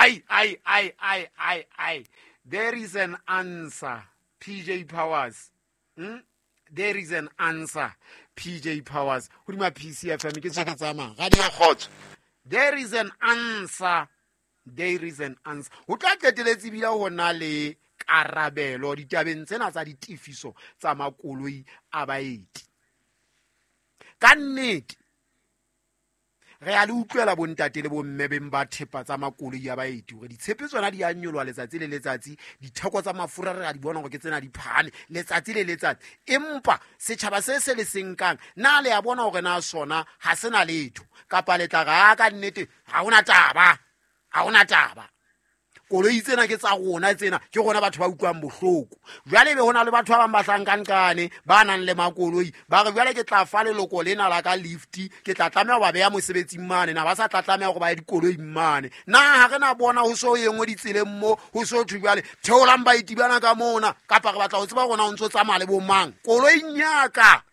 Ai, ai, ai, ai, ai, ai. There is an answer, PJ Powers. There is an answer, PJ Powers. Hodima PCFM ke tswe ke tsamaya. Radio Kgotso. There is an answer. There is an answer. Ho tla qeteletse ebile ho na le karabelo ditabeng tsena tsa ditefiso tsa makoloi a baeti. Ka nnete re a le utlwela bontate le bomme beng ba thepa tsa makoloi a baeti hore ditshepe tsona di a nyoloha letsatsi le letsatsi, ditheko tsa mafura re a di bona hore ke tsena di phahame letsatsi le letsatsi, empa setjhaba se se le senkang na le a bona hore na sona ha se na letho kapa le tla re a ka nnete ha hona taba, ha hona taba. Koloi tsena ke tsa rona, tsena ke rona batho ba utlwang bohloko. Jwale ebe hona le batho ba bang ba hlankanqane ba nang le makoloi, ba re jwale ke tla fa leloko lena la ka lift, ke tla tlameha ho ba beha mosebetsing mane, na ba sa tla tlameha hore ba ye dikoloing mane. Na ha re na bona ho so e nngwe ditseleng mo, ho so thwe jwale theolang baeti bana ka mona, kapa re batla ho tseba rona o ntso tsamaya le bo mang koloing ya ka,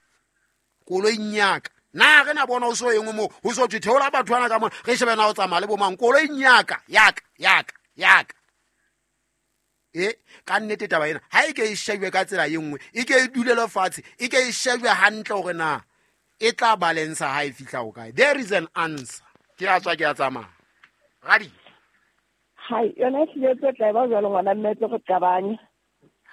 koloing ya ka. Na re na bona ho so e nngwe moo, ho so thwe theola batho bana ka mona, re shebe na o tsamaya le bo mang koloing ya ka, ya ka, ya ka, ya ka. Ka nnete taba ena ha e ke e shejwe ka tsela e nngwe, e ke e dulele fatshe, e ke e shejwe hantle hore na e tla balance ha e fihla ho kae. There is an answer. Ke a tswa, ke a tsamaya. Radi. Hai, yona e hlile tse tla e ba jwalo ngwana mme tlo re qabanya.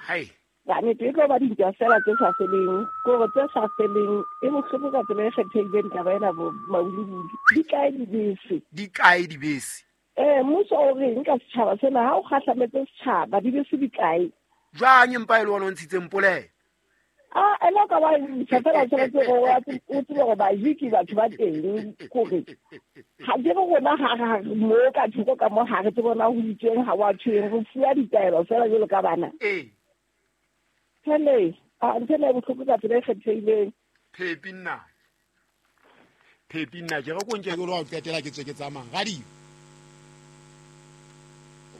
Hai. Ka nnete e tlo ba dintwa fela tse sa feleng, kore tse sa feleng e bohloko ka tsela e kgethehileng taba ena bo Maulubulu. Di kae dibese? Di kae dibese? Mmuso o reng ka setjhaba sena? Ha o kgahlametse setjhaba, dibese di kae? Jwang empa e le ona o ntshitseng polelo? Ah, ene o ka ba ntsha fela tshwanetse gore o tsebe gore bajiki batho ba teng, kore ga ke re rona ga re mo ka thoko ka mo ga re tsebe bona ho itsweng, ha wa tshweng, re fuwa ditaelo fela jwalo ka bana. Hele, a ntho ena e bohloko ka tsela e kgethehileng. Phepi nna. Phepi nna, ke re ko nke ke lo wa qetela ke tswe ke tsamaya. Radio.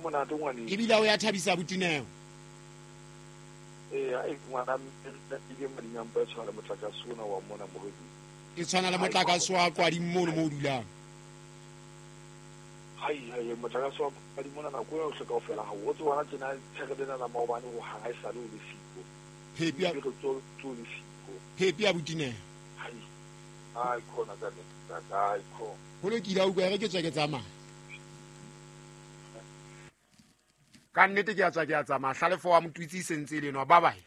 O monate ngwaneng. Ebile o ya thabisa botineo. Ee, ai, ngwana mme, ile madingampa e tshwana le motlakase ona wa mona moredi. E tshwana le motlakase wa Kwading mono mo o dulang. Hai, hai, motlakase wa Kwading mona nako eo yohle kaofela ha o tsebe hona tjena tshere lena la maobane ho hang ha e sale o le siko. Phepi ya Re tso tso le siko. Phepi ya botineo. Hai. Ai, khona ka nnete, ai, khona. Ho lokile, a utlwa, e re ke tswe ke tsamaya. Ka nnete ke a tswa ke a tsamaya. Hlalefo wa Motwitsi e sentse e le enwa. Bye bye.